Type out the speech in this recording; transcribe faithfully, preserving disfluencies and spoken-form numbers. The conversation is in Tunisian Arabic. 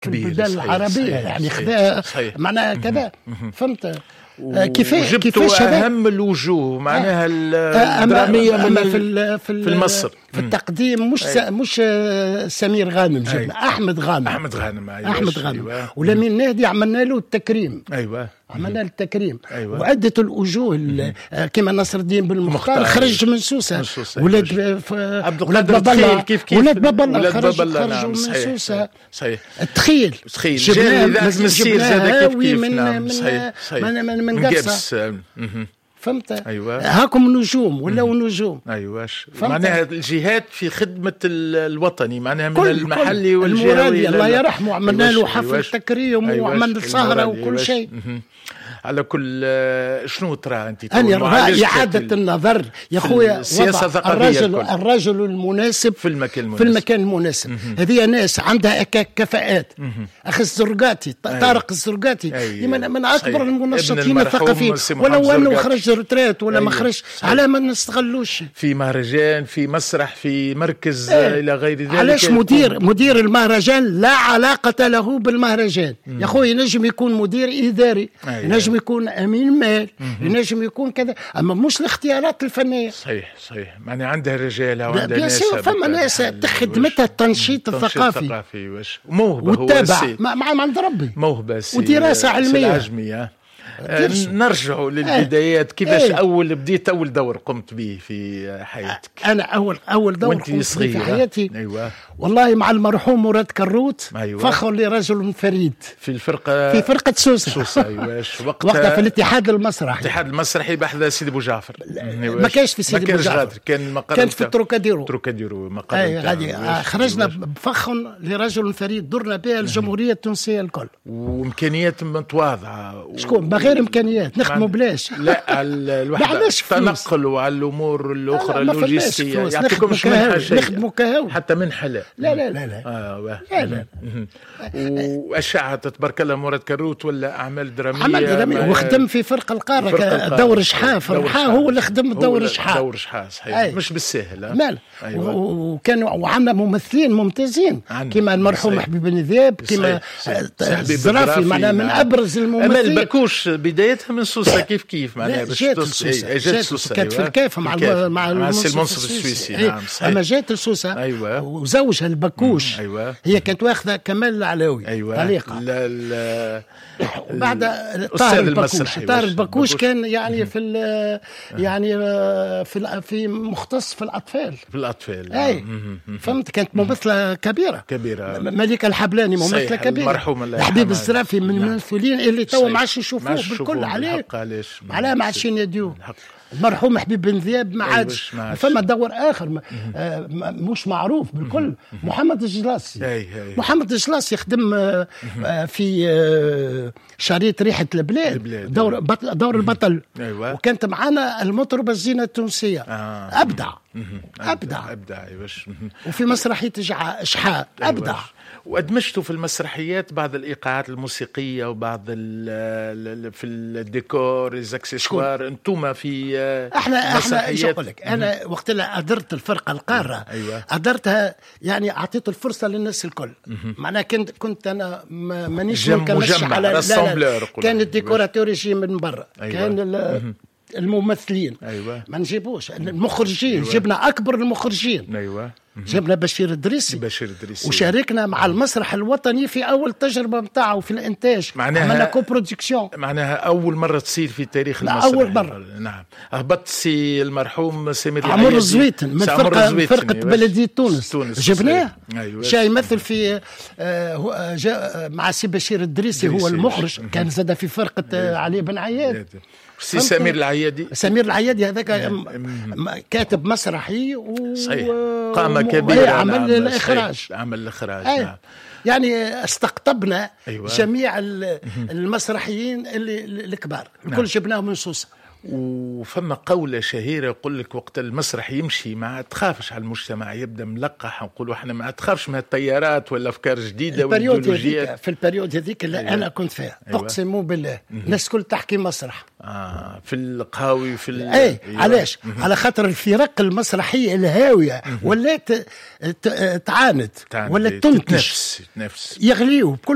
كبير، البلدان صحيح، العربية، صحيح، يعني صحيح، خذا صحيح. معناها كذا، فهمت؟ آه، كيفاش وجبتوا كيفاش هذا؟ اهم الوجوه معناها آه، الدرامية أما من في ال- ال- في ال- في المصر. في التقديم مش س- مش آه، سمير غانم جبنا، أي. احمد غانم. احمد غانم، أيوة. احمد غانم. أيوة. ولمين نهدي عملنا له التكريم. ايوه عملنا له التكريم. أيوة. وعدة الوجوه ال- آه، كما نصر الدين بالمختار مختار. خرج من سوسه. من سوسة. ولاد أيوة. ب- ف- عبد ولاد القادر باب الله. تخيل كيف كيف. ولاد باب الله ولاد خرج باب الله، خرجوا نعم، من صحيح، سوسه. صحيح. التخيل تخيل جبناه جاء إذاعة المسير زاد جبناه كيف هاوي كيف من نعم من صحيح صحيح. من من, من قفصه. قفص. مهم. فهمت؟ أيوة. هاكم نجوم ولاو نجوم. ايوه. فهمت؟ معناها الجهات في خدمة ال- الوطني معناها من كل المحلي كل والجهوي. المرادي إلى الله ال- يرحمه عملنا له أيواش، حفل أيواش. تكريم أيواش، وعملنا سهره المرادي، وكل أيواش. شيء. مهم. على كل آه، شنو ترى انت تو أنا معالجة رأي إعادة ال- النظر يا خويا، السياسة وضع الثقافية الرجل الكل. الرجل المناسب في المكان المناسب. في المكان المناسب. هذه ناس عندها ك- كفاءات، أخي الزرقاتي، ط- طارق الزرقاتي. أيوة. من, من أكبر صحيح. المنشطين ابن المرحوم الثقافيين، سي محمد ولو أنه الزرقاتي. خرج retraite ولا ما أيوة. خرج، صحيح. على ما نستغلوش في مهرجان، في مسرح، في مركز، إيه. آه، الى غير ذلك. علاش يكون- مدير مدير المهرجان لا علاقة له بالمهرجان يا خويا؟ ينجم يكون مدير إداري، أيوة. ينجم يكون أمين مال، ينجم يكون كذا، أما مش الاختيارات الفنية. صحيح صحيح، معناها عندها رجالها وعندها bien ناس sûr، فما ناس خدمتها التنشيط الثقافي. الثقافي واش موهبة هو والتابع السي مع مع عند ربي. موهبة سي ودراسة سي علمية. العجمي آه. آه، درسوا. نرجع للبدايات، كيفاش إيه. اول بديت، اول دور قمت به في حياتك؟ انا اول اول دور وانت قمت به صغيرة. في حياتي، ايوه والله مع المرحوم مراد كروت، أيوة. فخر لرجل فريد. في الفرقه. في فرقه سوسه. سوسه، ايوه. وقتها وقتها في الاتحاد المسرحي. الاتحاد المسرحي بحذا سيدي بو جعفر. ما كانش في سيدي ما كانش بو جعفر. غادر، كان المقر كانت في نتاع- التروكاديرو. تروكاديرو مقر اي نتاع- غادي. أيواش. خرجنا أيواش. بفخ لرجل فريد، درنا بها الجمهورية التونسية الكل. وامكانيات متواضعه. شكون ما غير امكانيات؟ نخدموا بلاش. لا، على الوحدة عندناش فلوس. التنقل وعلى الامور الاخرى لا، ما فماش اللوجستيه. فلوس. يعطيكمش نخدموا منحه كهاوي. شيء؟ نخدموا كهاوي. حتى منحه لا؟ لا لا لا لا. اه واه. لا لا. مهم. واشعه تبارك الله مراد كروت ولا اعمال دراميه. عمل درامي مع- وخدم في فرق القارة. فرق القارة. دور شحاء في دور الرحاء. شحاء. هو اللي خدم هو دور اللي- شحاء. دور شحاء، صحيح. أي. مش بالسهل آه. مال أيوة. و- وكانوا وعندنا ممثلين ممتازين عندنا. كما المرحوم صحيح. حبيب بن ذياب، كما صحيح. آه، صحيح. حبيب الزرافي، الزرافي، معناها من نعم. ابرز اما الممثلين. البكوش بدايتها من سوسة كيف كيف معناها لا، باش جات توصل- لسوسة. إيه، جات جات سوسة. كانت في أيوة. الكاف مع الكاف. الم- مع مع السي المنصف المنصف السويسي. إيه. نعم صحيح. اما جات لسوسة أيوة. وزوجها البكوش. أيوة. هي كانت واخذه كمال العلاوي ايوه طليقه. لا لا. وبعد الأستاذ طاهر البكوش. المسرحي. طاهر واش- البكوش كان يعني في ال- يعني آه، في ال- في مختص في الاطفال. في الاطفال. اي فهمت، كانت ممثلة كبيره. كبيرة. م- مليكة الحبلاني ممثلة صحيح، كبيره. المرحوم الله حبيب يرحمها. الزرافي من نعم. الممثلين اللي توا صحيح. ما عادش نشوفوه ما عادش بالكل. نشوفوه عليه بالحق، علاش؟ علاه ما عادش يناديوه؟ الحق. المرحوم حبيب بن ذياب ما أيوة، عادش. ما عادش. فما دور اخر ما آه ما- مش معروف بالكل، محمد الجلاسي. أي، أي. محمد الجلاسي خدم آه آه في آه شريط ريحه البلاد، البلاد، دور أيوة. بطل دور البطل. أيوة. وكانت معنا المطربه الزينة التونسيه. آه. ابدع ابدع. ابدع، ايواش. وفي مسرحية جع- شحاء ابدع. أيوة. وادمجتوا في المسرحيات بعض الايقاعات الموسيقية وبعض ال ال في الديكور، les accessoires، انتم في آه، احنا احنا ايش مسرحيات. نقول لك، انا وقت اللي ادرت الفرقة القاره، أيوة. ادرتها يعني اعطيت الفرصة للناس الكل، معناها كنت كنت انا ما- مانيش جم- منكمش مجمع، على لا، لا. rassembleur قول. كان ال décorateur يجي من برا. أيوة. كان ال- الممثلين أيوة. ما نجيبوش المخرجين. جبنا اكبر المخرجين. ايوه جبنا بشير الدريسي. بشير الدريسي. وشاركنا مع المسرح الوطني في اول تجربه نتاعو في الانتاج. معناها- عملنا coproduction. معناها اول مرة تصير في تاريخ لا، المسرح. أول مرة. نعم، هبط سي المرحوم سمير عمر العيادي. الزويتن من سي عمر فرقه الزويتن، فرقه أيوة. بلديه تونس. تونس. جبناه. أيوة. جاي يمثل في آه، هو- آه، جاء مع سي بشير الدريسي هو الدريسي. المخرج، كان زاد في فرقه آه، علي بن عياد. سي فهمت؟ سمير العيادي. سمير العيادي هذاك م- م- كاتب مسرحي و صحيح، و- قامة و- كبيرة. إيه، عمل نعم، الإخراج. صحيح، عمل الإخراج. أي. نعم. يعني استقطبنا أيوة. جميع ال- المسرحيين اللي الكبار الكل، جبناهم من سوسه. وفما قولة شهيرة يقول لك وقت المسرح يمشي ما تخافش على المجتمع، يبدا ملقح، نقولوا احنا ما تخافش من التيارات ولا افكار جديدة. ال période هذيك، في ال période هذيك اللي أيوة. انا كنت فيها، أيوة. اقسم بالله الناس الكل تحكي مسرح. آه، في القهاوي في ال... اي أيوة. علاش؟ على خاطر الفرق المسرحية الهاوية ولات تعاند، ولا تنتج. تنفس. يغليوا بكل.